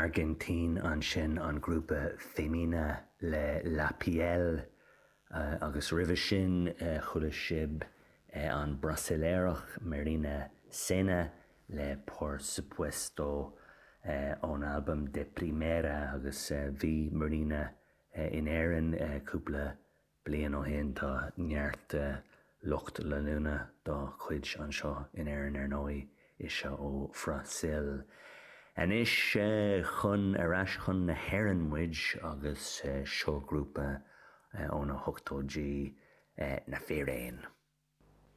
Airgintín ansin, an grúpa Femina le La Piel agus roimhe sin chuala sibh an Brasaíleach Marina Sena le Por Supuesto ón albam De Primera agus bhí Marina in Éirinn cúpla Bliain ó shin, tá neart lucht leanúna dá cuid anseo in Éirinn ar ndóigh, ise ó Bhrasaíl. Anois chun, ar ais chun na hÉireann muid agus seo grúpa ó na hochtóidí, Na Fíréin.